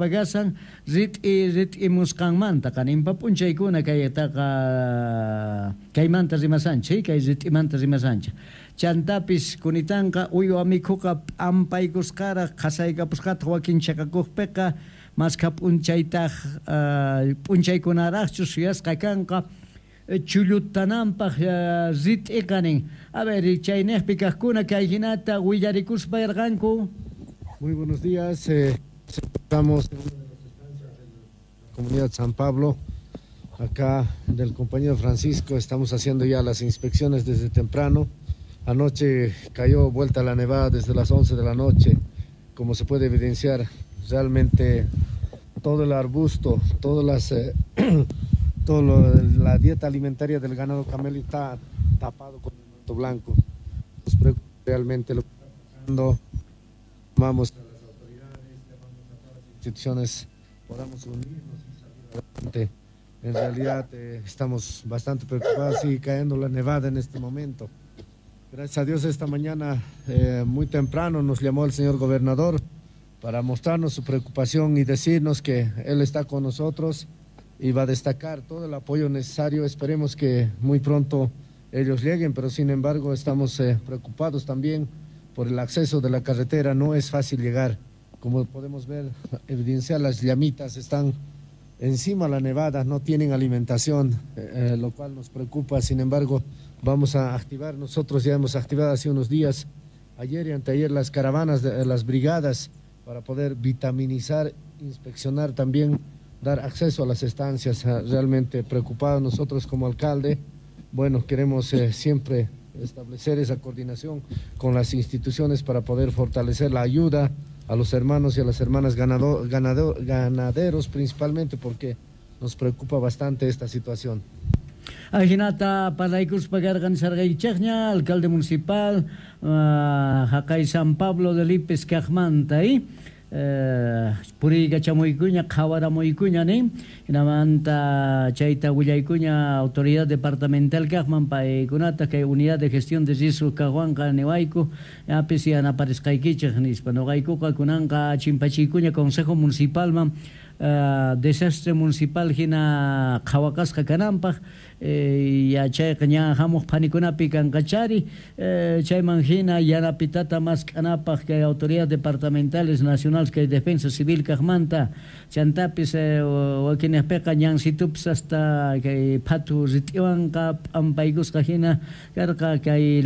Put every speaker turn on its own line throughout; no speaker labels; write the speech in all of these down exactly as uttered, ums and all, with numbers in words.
qhawaspa kasan rit'i rit'imusqanmanta qaninpa p'unchaykuna kaytaqa kaymanta rimasanchik kay rit'imanta rimasanchik chantapis kunitanqa uywa mikhuqa p'ampaykusqaraq qhasaykapusqataq wakin chaqakuqpiqa maskha p'unchaytaq p'unchaykunaraqchu suyasqa kanqa chullutananpaq rit'iqa nin. A ver, chayniqpi kaqkuna kay hinata willarikuspa yarqanku.
Muy buenos días, eh, estamos en una de las estancias de la comunidad San Pablo, acá del compañero Francisco. Estamos haciendo ya las inspecciones desde temprano. Anoche cayó vuelta la nevada desde las once de la noche, como se puede evidenciar, realmente todo el arbusto, todas las, eh, todo lo, la dieta alimentaria del ganado camello está tapado con el manto blanco. Nos preocupa realmente lo que está pasando. Llamamos a las autoridades, llamamos a todas las instituciones, podamos unirnos y salir adelante. En realidad eh, estamos bastante preocupados, sigue cayendo la nevada en este momento. Gracias a Dios esta mañana eh, muy temprano nos llamó el señor gobernador para mostrarnos su preocupación y decirnos que él está con nosotros y va a destacar todo el apoyo necesario. Esperemos que muy pronto ellos lleguen, pero sin embargo estamos eh, preocupados también por el acceso de la carretera. No es fácil llegar. Como podemos ver, evidenciar las llamitas están encima de la nevada, no tienen alimentación, eh, lo cual nos preocupa. Sin embargo, vamos a activar, nosotros ya hemos activado hace unos días, ayer y anteayer, las caravanas, de, las brigadas, para poder vitaminizar, inspeccionar también, dar acceso a las estancias. Realmente preocupados nosotros como alcalde, bueno, queremos eh, siempre establecer esa coordinación con las instituciones para poder fortalecer la ayuda a los hermanos y a las hermanas ganado, ganado, ganaderos principalmente, porque nos preocupa bastante esta situación.
Ajinata parlaykuspa karqan sarqaychaqña alcalde municipal uh, haqay San Pablo de Lipes kaqmanta eh puriykachamuykuña qhawaramuykuña nin hinamanta chayta willaykuña autoridad departamental kaqman paykunata kay unidad de gestión de riesgos kaqwanqa niwayku apis yanaparisqaykichik nispa noqaykuqa kunanqa chimpachiykuña consejo municipalman Uh, desastre municipal hina qhawaqasqa kananpaq eh, yachayqa ña hamuq phanikunapi kanqachari eh, chayman hina yanapitata mask'anapaq kay autoridades departamentales nacionales kay defensa civil kaqmanta chantapis eh, wakinaqpiqa ñansitupis hasta kay phatu rit'iwanqa p'ampaykusqa hina karqa kay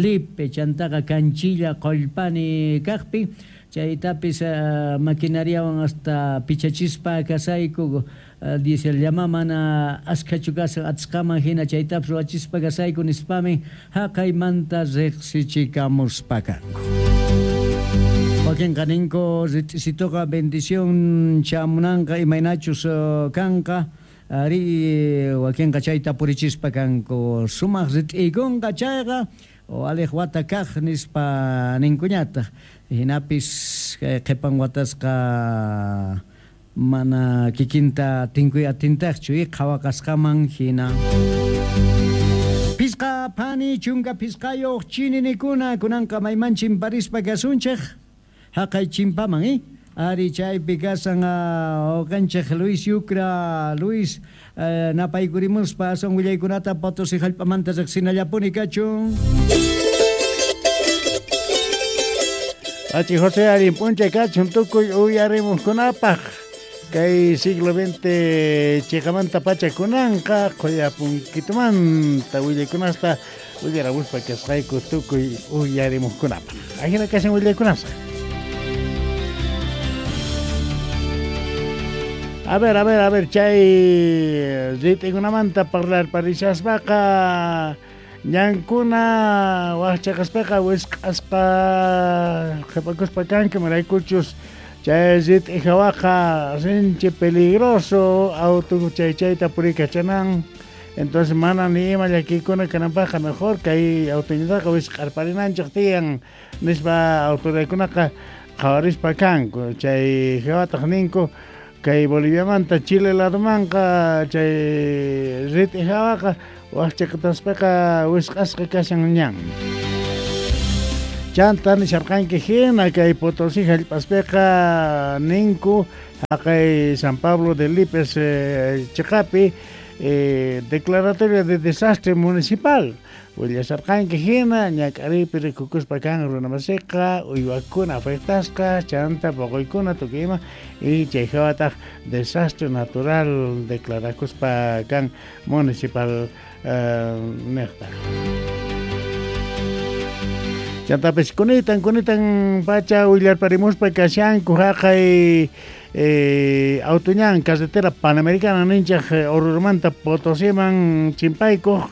Lipe chantaqa Canchilla Qollpani kaqpi chaytapis uh, maquinariawan hasta pichachispa kasayku uh, dice llama mana askhachu kasan atsqaman hina chaytapis ruwachispa kasayku nispami haqaymanta riqsichikamuspa kanku. Wakinqa ninku rit'isituqa bendición chamunanqa imaynachus uh, kanqa ari wakinqa chayta purichispa kanku sumaq rit'iykunqa chayqa o aleq wata kaq nispa ninkuñataq hinapis qhipan watasqa mana kikinta tinkuy atintaqchu y qhawaqasqaman hina. Pisqa phani chunka pisqayuq chininikuna kunanqa mayman chimparispa kasunchik haqay chimpaman eh ari chaypi kasan uqanchik Luis Yucra Luis eh, napaykurimuspa aswan willaykunata Potosí hallp'amanta riqsinallapuni kachun.
Achi José Arin p'unchay kachun tukuy uyarimuqkunapaq kay siglo veinte chiqamanta pacha kunanqa quyapunkitumanta willaykunasta willaramuspa kasqayku tukuy uyarimuqkunapaq. Ajina kashan willaykunasqa. A ver, a ver, a ver, chay rit'ikunamanta parlar parishaspaqa ñankuna waqchaqaspaqa wisq'aspa qhipakuspa kanku maraykuchus chay rit'i hawaqa sinchi peligroso auto chay chayta purikachanan entonces mana ni ima llakikuna kananpaqqa mejor kay autoñataqa wisq'arparinanchik tiyan nispa autoridadkunaqa qhawarispa kanku chay hawataq ninku kay Boliviamanta Chile ladomanqa chay rit'i hawaqa waqchaqataspaqa wisq'asqa kashan ñan. Chanta nisharqanki hina kay Potosí hallp'aspiqa ninku Haqay San Pablo de Lipes eh, chiqapi eh, declaratoria de desastre municipal willasarqanki hina ñak'aripi rikukuspa kan runamasiqa uywakuna afectasqa chanta poqoykuna tukuy ima y chay hawataq desastre natural declarakuspa kan municipal eh, niqta. Chantapis kunitan kunitan pacha willarparimuspa kashanku haqay eh, autoñan carretera panamericana ninchaq Orurumanta Potosiman chimpaykuq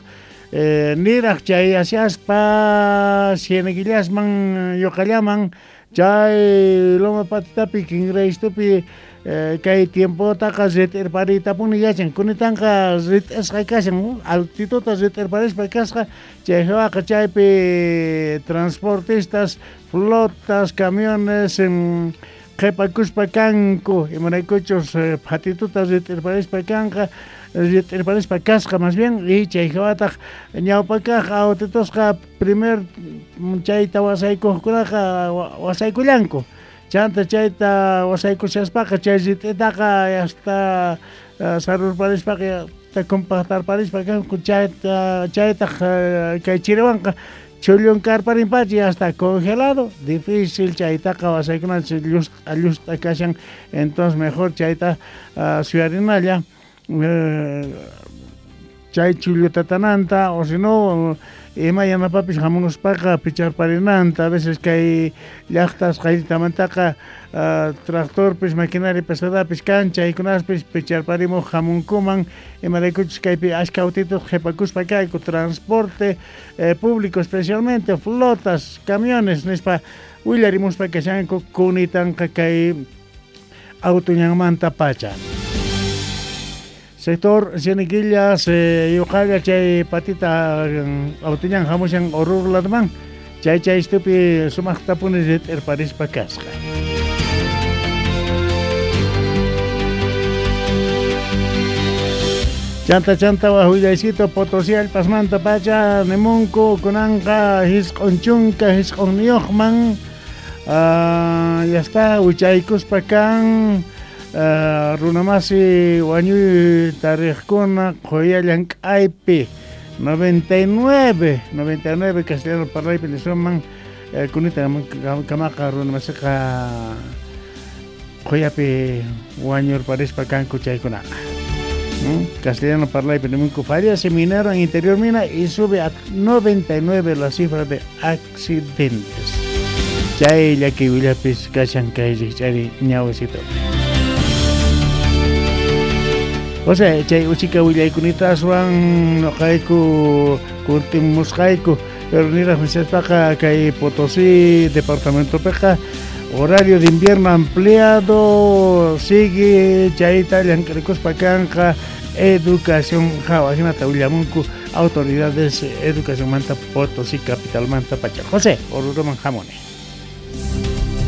eh, niraq chay asyaspa Cieneguillasman Yuqallaman chay Loma Patitapi Kingraystupi eh, kay tiempotaqa rit'irpariytapuni yachan kunitanqa rit'isqa kashan altituta rit'irparispa kasqa chay hawaqa chaypi transportistas flotas camiones en, qhipakuspa kanku imaraykuchus phatituta rit'irparispa kanqa rit'irparispa kasqa más bien y chay hawataq ñawpakaq autitusqa primer chayta wasaykuqkunaqa wasaykullanku chanta chayta wasaykushaspaqa chay rit'itaqa hasta sarurparispaqa compactarparispa kanku chayta chaytaq kay chiriwanqa chullunkarparinpacha ya está congelado, difícil chaytaqa wasaykunanchik llust'a llust'a kashan, entonces mejor chayta uh, suyarinalla eh, chay chullutatananta o si no ima yanapapis hamunuspaqa picharparinanta a veces kay llaqtas qayllitamantaqa uh, tractorpis maquinaria pesadapis kan chaykunaspis picharparimuq hamunkuman imaraykuchus kaypi ashka autitos qhipakuspa kayku transporte eh, público especialmente flotas camiones nispa willarimuspa kashanku kunitanqa kay autoñanmanta pacha. Sector Cieneguillas, eh, Yuqalla chay patita autoñan hamushan Oruro ladman chay chay istupi sumaqtapuni rit'irparispa kasqa. Chanta chanta wahullaysito Potosí allpasmanta pacha nimunku kunanqa hisq'un chunka hisq'unniyuqman uh, ya está wichaykuspa kan Uh, runamasi wañuy tariqkuna qhuya llank'aypi noventa y nueve noventa y nueve castellano parlaypi nisuman eh, kunita kamaqa runamasiqa qhuyapi wañurparispa kanku chaykunaqa. ¿Mm? Castellano parlaypi nimunku fallece minero en interior mina y sube a noventa y nueve la cifra de accidentes. Chay llaki willapis kashan kay rikch'ari ñawisito. O sea, chay uchika willaykunita aswan noqayku kuntimusqayku pero niraq nisaspaqa kay Potosí departamentopiqa horario de invierno ampliado sigue chayta llank'arikuspa kanqa educación hawa hinata willamunku autoridades educacionmanta Potosí capitalmanta pacha. José Oruruman hamuni.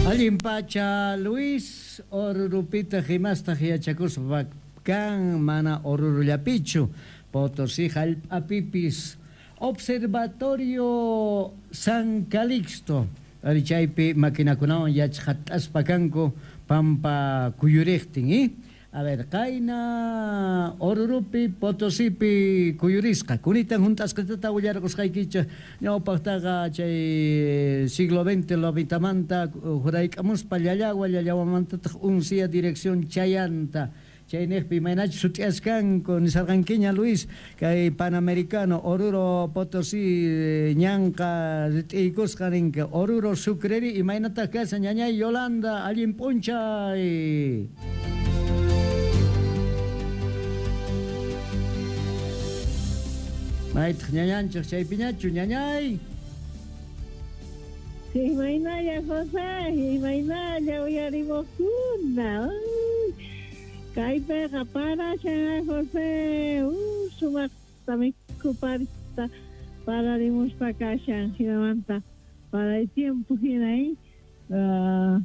Allin pacha Luis Orurupita himastaq yachakuspa kan mana Orurullapichu Potosí hallp'apipis Observatorio San Calixto ari chaypi maquinakunawan yachqat'aspa kanku pampa kuyuriqtin eh? A ver, qayna Orurupi Potosipi kuyurisqa kunitan hunt'asqatata willarqusqaykichik ñawpaqtaqa chay siglo veinte lobitamanta jurayk'amuspa Llallagua Llallawamantataq uncia dirección chayanta chayniqpi imaynachus sut'iyaskanku nisarqankiña Luis kay Panamericano Oruro Potosí ñanqa rit'iykusqa ninka Oruro Sucreri imaynataq kashan ñañay Yolanda allin p'unchay. Maytaq ñañanchik chaypiñachu ñañay.
Imaynalla José, imaynalla uyarimuqkuna. Kaypiqa parashan José, uh, sumaqta mikhuparista pararimuspa kashan hinamanta para el tiempo hina eh? Uh,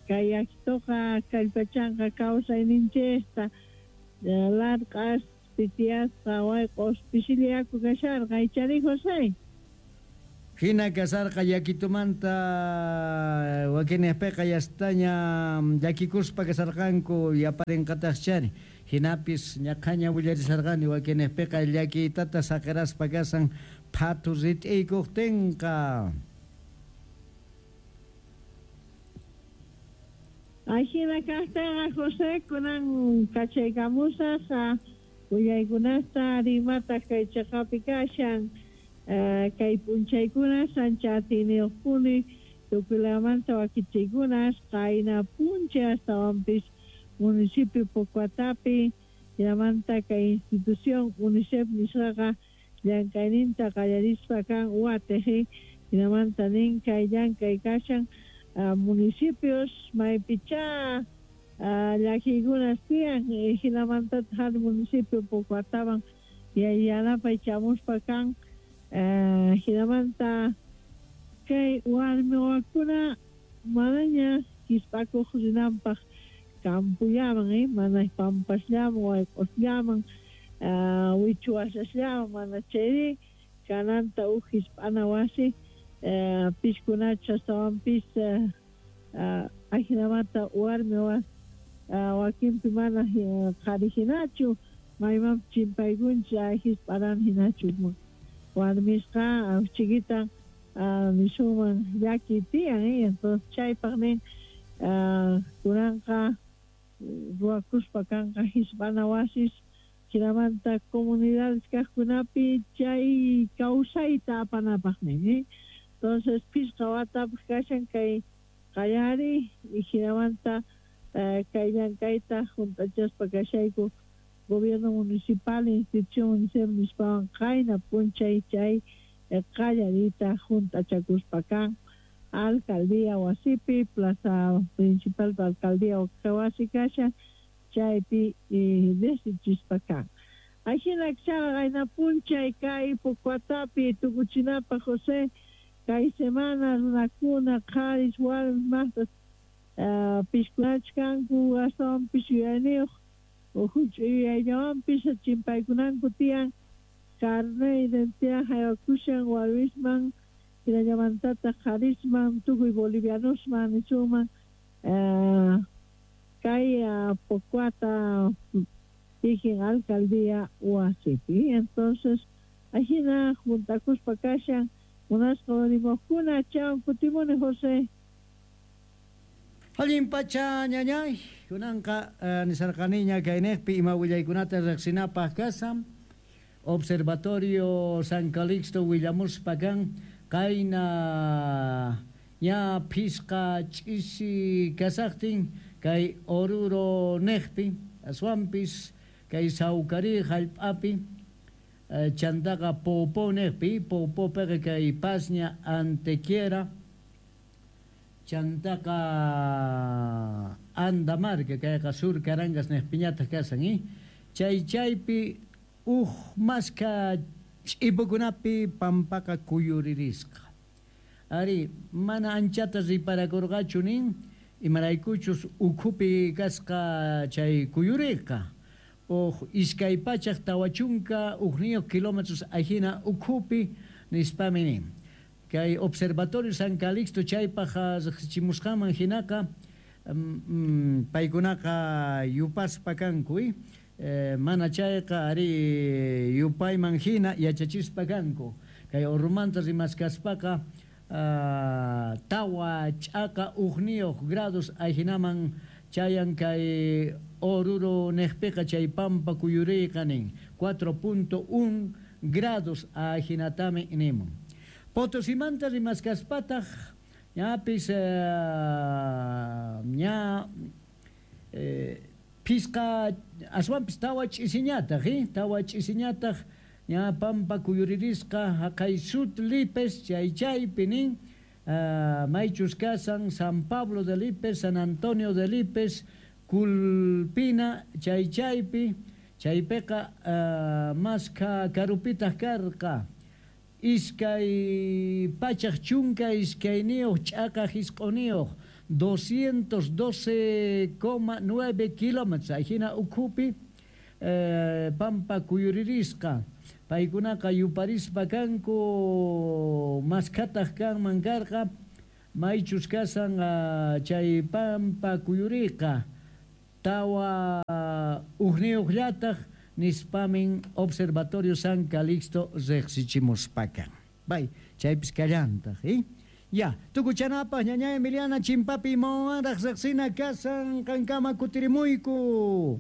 kay akituqa kallpachanqa kawsayninchikta larq'as pitiyasqa wayq'os pisilla yaku kasharqa ichari José.
Hina kasarqa llakitumanta wakinejpeqa yastaña llakikuspa kasarqanku yaparinqataqchari. Hinapis ñaqhaña willarisarqani wakinejpeqa llakiytata saqiraspa kasan phatu rit'iykuqtinqa.
Ajina kaqtaqa José kunan kachaykamusaq willaykunasta rimataq kay chaqapi kashan kay p'unchaykuna ancha atiyniyuqpuni tukuylamanta wakichiykunas qayna p'unchay astawanpis municipio Pocoatapi hinamanta kay institución UNICEF nisqaqa llank'ayninta qallarispa kan watiq hinamanta nin kay llank'ay kashan municipios maypicha llakiykunas tiyan hinamantataq hari municipio Pocoataman yanapay chamuspa kan hinamanta kay warmi wawakuna manaña kispakuq rinanpaq campullaman eh mana pampasllaman wayq'usllaman wichuwasasllaman mana chayri kananta uj hisp'ana wasi piskunacha astawanpis ajinamanta warmi wakinpi mana qhari hinachu maymanpis chimpaykunchik hisp'aran hinachu warmisqa chiquitan nisuman llaki tiyan entonces chaypaq nin kunanqa ruwakuspa kanqa hisp'ana wasis hinamanta comunidades kaqkunapi chay kawsayta apanapaq nin entonces pishqa watapaq kashan kay qallari hinamanta kay llank'ayta hunt'achaspa kashayku gobierno municipal institución UNICEF nispawan qayna p'unchay chay qallariyta hunt'achakuspa kan alcaldía wasipi plaza principal alcaldía wasi kashan chaypi desichispa kan ajina chaqa qayna p'unchay kay Pocoatapi tukuchinapaq José kay semana runakuna qharis warmis maqtas piskunachkanku astawanpis yuyayniyuq huch'uy yuyayllawanpis chimpaykunanku tiyan carnet identidad haywakushan warmisman hinallamantataq qharisman tukuy bolivianosman nisuman kay Pocoata kikin alcaldía wasipi entonces ajina juntakuspa kashan munasqa rimaqkuna chawan kutimuni José.
Allin pacha ñañay kunanqa nisarqaniña kaynejpi ima willaykunata riqsinapaq kasan Observatorio San Calixto willamuspa kan qayna ña phisqa ch'isi kasaqtin kay Oruro nejpi aswanpis kay Sawkari hallp'api chantaqa Popo nejpi Popopiqa kay Pasña Antequiera chantaqa Andamarca kayqa Sur Carangas nejpiñataq kasan chay chaypi uj maska ch'ipukunapi pampaqa kuyuririsqa ari mana anchata riparakurqachu nin imaraykuchus ukhupi kasqa chay kuyuriqa uj iskay pachaq tawa chunka ujniyuq kilómetros ajina ukhupi nispami nin kay Observatorio San Calixto chaypaq riqsichimusqanman hinaqa paykunaqa yupaspa kanku mana chayqa ari yupayman hina yachachispa kanku kay Orumanta rimaskaspaqa tawa ch'aqa ujniyuq grados ajinaman chayan kay Oruro nejpiqa chay pampa kuyuriyqa nin cuatro punto uno grados ajinatami nimun Potosimanta rimaskaspataq ñapis ña phisqa aswanpis tawa ch'isiñataq tawa ch'isiñataq ña pampa kuyuririsqa haqay Sut Lipes chay chaypi nin maychus kasan San Pablo de Lipes, San Antonio de Lipes, Culpina chay chaypi chaypiqa maska karupitaq karqa iskay pachaq chunka iskayniyuq ch'aqa hisq'uniyuq doscientos doce coma nueve kilómetros ajina ukhupi pampa kuyuririsqa Paykunaqa yuparispa kanku maskhataq kanman karqa maychus kasan chay pampa kuyuriqa tawa ujniyuqllataq nispamin Observatorio San Calixto riqsichimuspakan. Bay, chaypis kallantaq, eh? Ya, tukuchanapaq ñaña Emiliana chimpapi imawanraq riqsina kasan qankama kutirimuyku.